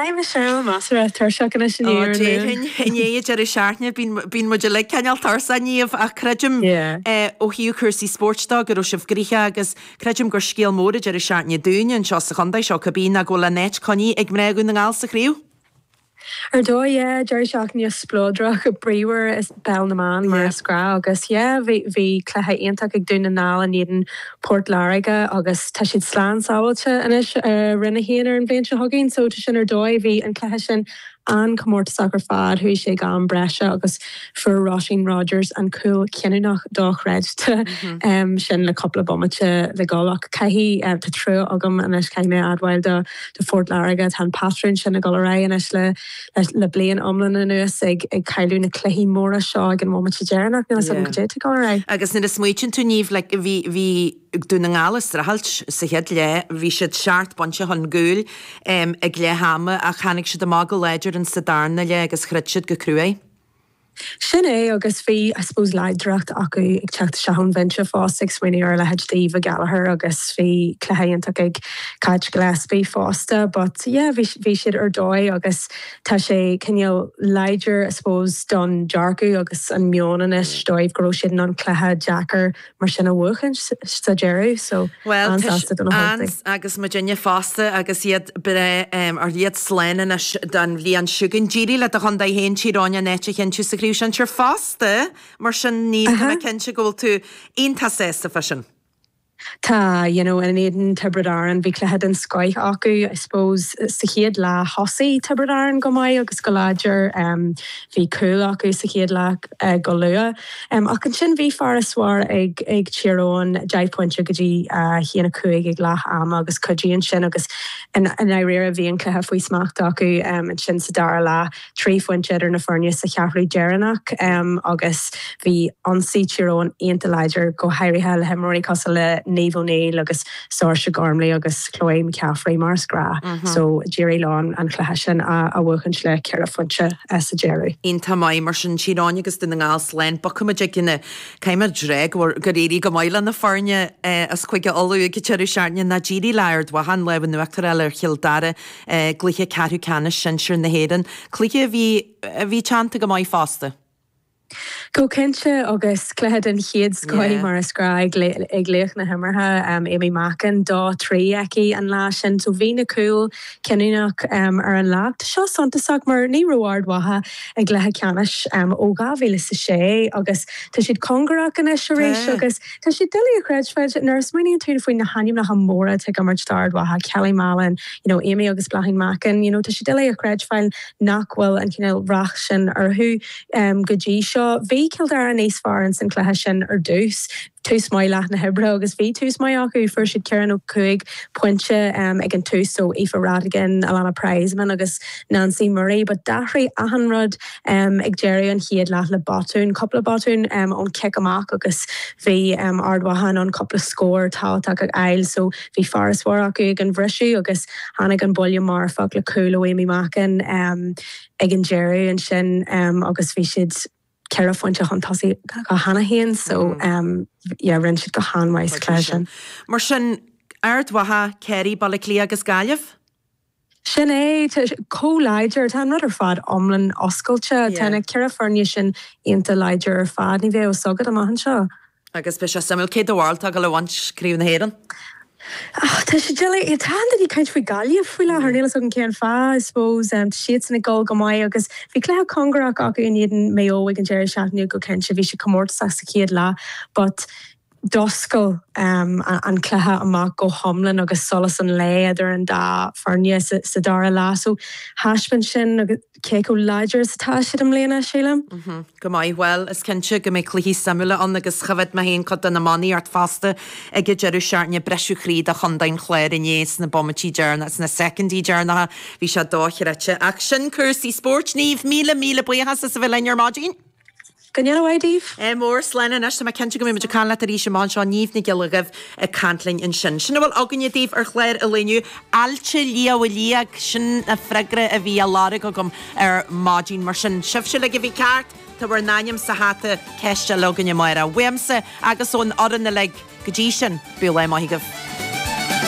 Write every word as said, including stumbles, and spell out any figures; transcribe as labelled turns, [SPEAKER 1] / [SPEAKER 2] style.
[SPEAKER 1] Hi Michelle measartha tuirseach anois i ndiaidh an
[SPEAKER 2] Déarfainn i ndiaidh deireadh seachtaine bíonn muid uilig cineál tuirseach Niamh ach creidim ó thaobh cúrsaí spóirt de go raibh sibh gnoitheach agus creidim gur scéal mór an deireadh seachtaine dúinne anseo sa chontae seo cibé ná go bhfuil an áit coinnithe ag mná Dhún na nGall sa chraobh.
[SPEAKER 1] Ar dóigh, yeah, deireadh seachtaine spleodrach bríomhar i bpeil na mban mar is gnách agus yeah, bhí bhí cluiche iontach ag Dún na nGall in éadan Port Láirge agus tá siad slán sábháilte anois i Roinn a haon ar an bhliain seo chugainn so tá sin ar dóigh bhí an cluiche sin an-chomórtasach ar fad, chuaigh sé go am breise agus fuair Róisín Rogers an cúl cinniúnach dochreidte sin le cúpla bomaite le dul ach caithfidh tá trua agam anois caithfidh mé admháil do do Phort Láirge tá an patrún sin ag dul ar aghaidh anois le le bliain iomlán anuas ag ag cailleadh na cluichí móra seo ag an bhomaite deireanach níl a fhios agam cad é atá ag dul ar aghaidh.
[SPEAKER 2] Agus nuair a smaoitíonn tú Niamh like bhí bhí Dún na nGall ag streachailt sa chéad leath, bhí siad seacht bpointe chun cúil ag leath ama ach tháinig siad amach go láidir in sa darna leath agus throid siad go cruaidh.
[SPEAKER 1] Sin é agus bhí I suppose láidreacht acu ag teacht isteach ón bhinse fosta ag smaoineamh ar a leithéid d'Aoibhe Gallagher agus bhí cluiche iontach ag Cáit Gillespie fosta but yeah bhí bhí siad ar dóigh agus tá sé cineál láidir I suppose don dearcadh agus an meon anois dóibh go raibh siad in ann cluiche deacair mar sin a bhuachan sa deireadh so
[SPEAKER 2] Well
[SPEAKER 1] an-sásta do na hUltaigh.
[SPEAKER 2] agus muidinne fosta agus iad breá ar iad slán anois don bhliain seo chugainn. D'éirigh le do chontae féin Tír Eoghain an áit a chinntiú sa chraobh sinsir fosta mar sin Niamh tá mé cinnte go bhfuil tú iontach sásta fá sin.
[SPEAKER 1] Tá, you know, in éadan Tiobraid Árann bhí cluiche den scoth acu I suppose sa chéad leath thosaigh Tiobraid Árann go maith agus go láidir um, bhí cúl acu sa chéad leath uh, go luath. Um, ach ansin bhí farasbarr ag ag Tír Eoghain deich bpointe go dtí uh, haon a cúig ag leath ama agus cuidíonn sin agus in dáiríre bhí an cluiche faoi smacht acu um, ansin sa dara leath trí phointe idir na foirne sa cheathrú deireanach um, agus bhí ionsaí Tír Eoghain iontach láidir go háirithe le himreoirí cosúil le Niamh O'Neill agus Saoirse Gormley agus Chloe McCaffrey mar is gnách. Mm -hmm. So d'éirigh leo an cluiche sin a, a bhuachan le ceithre phointe sa deireadh.
[SPEAKER 2] Iontach maith mar sin Tír Eoghain agus Dún na nGall slán bogfaimid ag na caimime dre gur éirigh go maith le na foirne as Cúige Uladh ag deireadh seachtaine ná d'éirigh le Ard Mhacha an lámh in uachtar a fháil ar Chill Dara gcluiche ceathrú ceannais sinsir na hÉireann. Cluiche a bhí a bhí teannta go maith fosta.
[SPEAKER 1] Go cinnte agus cluiche den chéad scoth mar is gnách ag laoch na himeartha um, Amy Mackin dó trí aici an lá sin, so bhí na cúil cinniúnach um, ar an lá. Tá seo suntasach mar ní raibh Ard Mhacha ag cluiche ceannais um, ó dhá mhíle is a sé agus tá siad cóngarach anois arís agus tá sé doiligh a chreidbheáil nuair a smaoiníonn tú faoi na hainmneacha móra ag imirt d'Ard Mhacha Kelly Mallon, you know, Amy agus Bláithín Mackin, you know, tá sé doiligh a chreidbheáil nach bhfuil an cineál rath sin orthu um, go dtí seo. Bhí Cill Dara níos fearr in san cluiche sin ar dtús. Tús maith leath na hoibre agus bhí tús maith acu fuair siad ceithre nó cúig pointe um, ag an tús so Aoife Radigan, Alana Prizeman agus Nancy Murray, but d'athraigh achan rud um, ag deireadh an chéad leath le botún, cúpla botún um, ón cic amach agus bhí um, Ard Mhacha an cúpla scór tábhachtach ag fháil, so bhí farasbarr acu ag an bhriseadh agus tháinig an buille marfach le cúl ó Amy Mackin um, ag an deireadh ansin um, agus bhí siad ceithre phointe chun tosaigh cheana féin so um, yeah, rinne siad go han-mhaith sa chluiche sin.
[SPEAKER 2] Mar sin Ard Mhacha, Kerry, Baile Átha Cliath agus Gaillimh?
[SPEAKER 1] Sin é chomh láidir tá an rud ar fad iomlán oscailte Tá na ceithre foirne sin iontach láidir ar fad ní bheidh a fhios agat amach anseo.
[SPEAKER 2] Agus beidh sé suimiúil cé do bharúil atá le baint Craobh na hÉireann?
[SPEAKER 1] Tá sé doiligh tá daoine ag caint faoi Gaillimh faoi láthair níl a fhios agam cén fáth I suppose um, siad san ag dul go maith agus bhí cluiche cóngarach acu in éadan Mayo ag an deireadh seachtaine go cinnte bhí sé comórtasach sa chéad leath, but d'oscail um, an cluiche amach go hiomlán agus solas an lae idir an dá foirne sa, sa dara leath. So thaispeáin sin agus cé chomh láidir is atá siad i mbliana sílim.
[SPEAKER 2] Mm-hmm. Go maith well is cinnte go mbeidh cluichí suimiúla ann agus choimhéad mé féin cuid de na manaí fosta ag an deireadh seachtaine briseadh croí do chontae an Chláir inné sna bomaití deireanacha sna soicindí deireanacha bhí sé dochreidte ach sin cúrsaí spóirt Niamh míle míle buíochas as a bheith linn ar maidin.
[SPEAKER 1] Go ndéana mhaith daoibh?
[SPEAKER 2] É mór slán anois tá mé cinnte go mbeidh muid ag caint leat arís amach anseo Niamh Nic Giolla Dhuibh ag caint linn ansin. Sin a bhfuil againne daoibh ar chlár an lae inniu Aillte Liath Liag sin an freagra a bhí á lorg agam ar maidin mar sin sibhse uilig a bhí ceart tá bhur n-ainm sa hata ceist eile againne amárach. Uaimse agus ón fhoireann uilig go dtí sin bíodh lá maith agaibh.